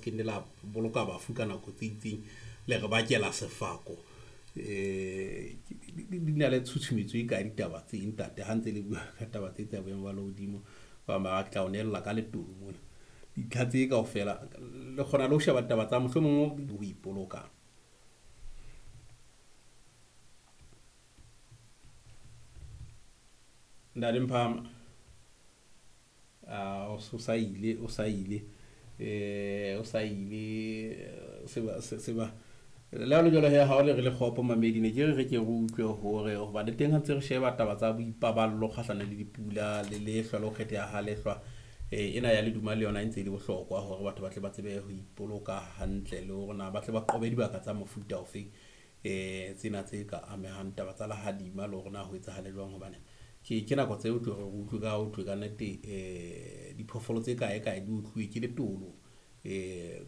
Ke nne la boloka bafu ka nako tse itseng, le re bakela sefako. Di na le tshutshumetso e kae ditaba tse, ntate? Ha ntse le bua ka taba tse tsa boemo ba lehodimo, ba bang ba tla o nehella ka letolo mona. Dintlha tse kaofela le kgona le ho sheba taba tsa mohlomong ho ipoloka. Ntate Mphama, o sa ile, o sa ile, o sa ile se ba le ha le jwalo he, ha o le re le kgopo mamedi, ne ke re re ke re utlwe hore hoba le teng ha ntse re sheba taba tsa boipaballo kgahlano le dipula le lehlwa le ho kgetheha ha lehlwa, ena ya leduma le yona e ntse e le bohlokwa hore batho ba tle ba tsebe ho ipoloka hantle le hore na ba tle ba qobe dibaka tsa mofuta ofeng, tsena tse ka amehang taba tsa lehadima le hore na ho etsahale jwang. Hobane ke nako tseo tlo re utlwe ka ho thwe ka nnete, diphoofolo tse kae kae di otluwe ke letolo,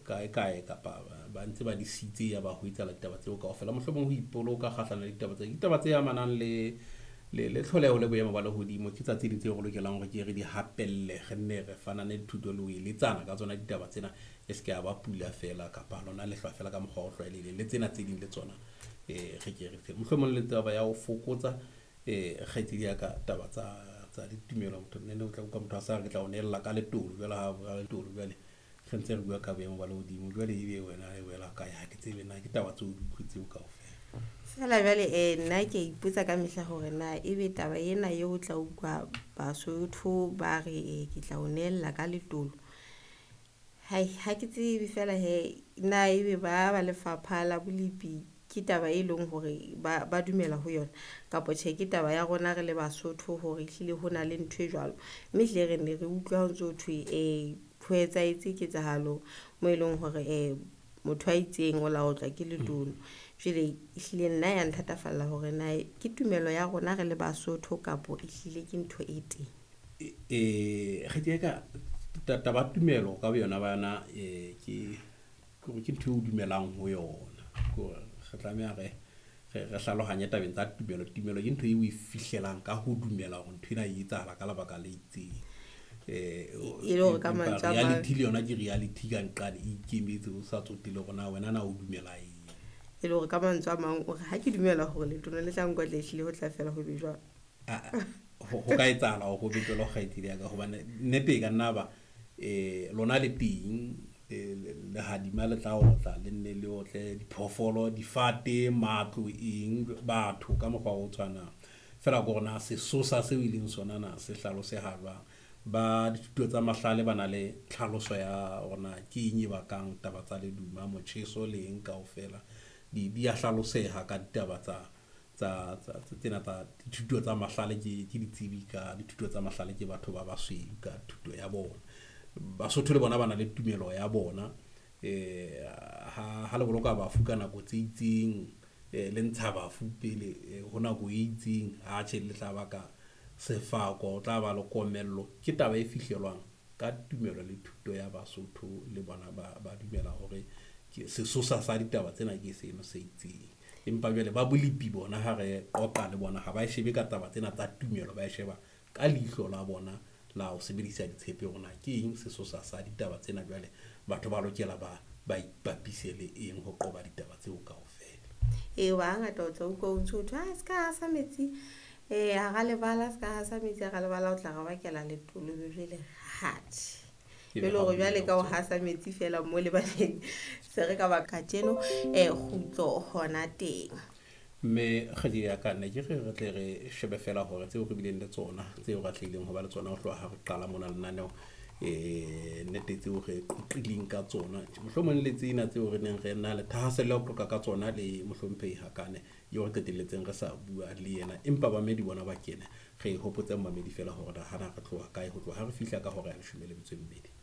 kae kae, kapa ba ntse ba disitse ya ba ho etsahala ditaba tseo kaofela. Mohlomong ho ipoloka kgahlano le ditaba tse, ditaba tse amanang le tlholeho le boemo ba lehodimo, ke tsa tse ding tseo re lokelang hore ke re di hapelle, re nne re fanane dithuto le ho eletsana ka tsona ditaba tsena. E se ke ya ba pula fela kapa lona lehlwa fela ka mokgwa o tlwaelehileng, le tsena tse ding le tsona, re ke re mohlomong le taba ya ho fokotsa, kgaitsedi ya ka taba tsa ditumelo. Motho nne o tla utlwa motho a sa re ke tla o nehella ka letolo jwale, ha bua letolo jwale re ntse re bua ka boemo ba lehodimo jwale, ebe wena e wela kae? Ha ke tsebe na ke taba tseo di utlwe tseo kaofela. Fela jwale, nna ke a ipotsa ka mehla hore na ebe taba ena eo o tla utlwa Basotho ba re, ke tla o nehella ka letolo. Hai, ha ke tsebe fela he na ebe ba lefapha la bolepi ke taba e leng hore ba dumela ho yona kapa tjhe, ke taba ya rona re le Basotho hore ehlile ho na le ntho e jwalo. Mme ehlile re ne re utlwa ho ntso thwe, ho etsahetse ketsahalo mo eleng hore motho a itseng o la otlwa ke letolo. Jwale ehlile nna ya nthatafalla hore na ke tumelo ya rona re le Basotho kapo ehlile ke ntho e teng. Kgaitsedi ya ka, taba tumelo ka boyona ba yona, ke hore ke ntho eo o dumelang ho yona. Ke hore re tlameha re hlalohanye tabeng tsa tumelo. Tumelo ke ntho eo o e fihlelang ka ho dumela hore ntho ena e etsahala ka lebaka le itseng. E le hore ka mantswe a mang, reality le yona ke reality ka nqane, e ikemetse o sa tsotelle hore na wena na o dumela eng. E le hore ka mantswe a mang o re ha ke dumela hore letolo le tla nkotla, ehlile ho tla fela ho be jwalo. Ho ka etsahala hore ho be jwalo, kgaitsedi ya ka, hobane nnete e ka nna ba, lona le teng, lehadima le tla otla, le nne le otle diphoofolo, difate, matlo, eng, batho ka mokgwa o tshwanang. Fela ke hore na sesosa seo e leng sona na se hlaloseha jwang. Ba dithuto tsa mahlale ba na le tlhaloso ya hore na ke eng e bakang taba tsa leduma, motjheso le eng kaofela. Di a hlaloseha ka ditaba tsa tsena tsa dithuto tsa mahlale, ke ditsebi ka dithuto tsa mahlale, ke batho ba basweu ka thuto ya bona. Basotho le bona ba na le tumelo ya bona. Ha le boloka bafu ka nako tse itseng, le ntsha bafu pele ho nako e itseng, atjhe le tla baka sefako, o tla ba le komello. Ke taba e fihlelwang ka tumelo le thuto ya Basotho, le bona ba dumela hore ke sesosa sa ditaba tsena ke seno se itseng. Empa jwale ba bolepi bona ha re qoqa le bona, ha ba e shebe ka taba tsena tsa tumelo, ba e sheba ka leihlo la bona la ho sebedisa ditshepe hore na ke eng sesosa sa ditaba tsena. Jwale batho ba lokela ba ipapise le eng ho qoba ditaba tseo kaofela. Ee, hoba hangata o tla utlwa o ntso thwe, se ka hasa metsi, hara lebala, se ka hasa metsi hara lebala, o tla re bakela letolo. Be jwale atjhe. Ke E le hore ha jwale ka ho tsona. hasa metsi fela mo lebaleng, se re ka baka tjeno, kgutlo hona teng. Mme kgaitsedi ya ka, ne ke re re tle re shebe fela hore tseo re bileng le tsona, tseo re atlehileng ho ba le tsona ho tloha ha re qala mona lenaneo, nnete tseo re qoqileng ka tsona, mohlomong le tsena tseo re neng re na le thahasello ya ho qoqa ka tsona le mohlomphehi Hakane, eo re qetelletseng re sa bua le yena, empa bamedi bona ba kene. Re hopotse mamedi fela hore na hana re tloha kae, ho tloha ha re fihla ka hora ya 12.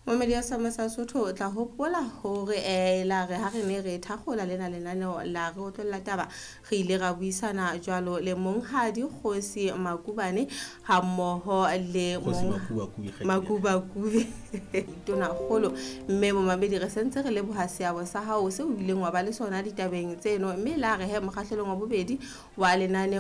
Momedi ya Sama sa Sotho, o tla hopola hore, la re ha re ne re thakgola lena lenaneo la re otlolla taba, re ile ra buisana jwalo le Monghadi Kgosi Makubane ha mmoho le Kgosi Mong Makubakubi, kgaitsedi ya ka. Makubakubi, Tonakgolo. Mme momamedi, re sentse re leboha seabo sa hao seo o ileng wa ba le sona ditabeng tseno, mme la re he mokgahlelong wa bobedi wa lenaneo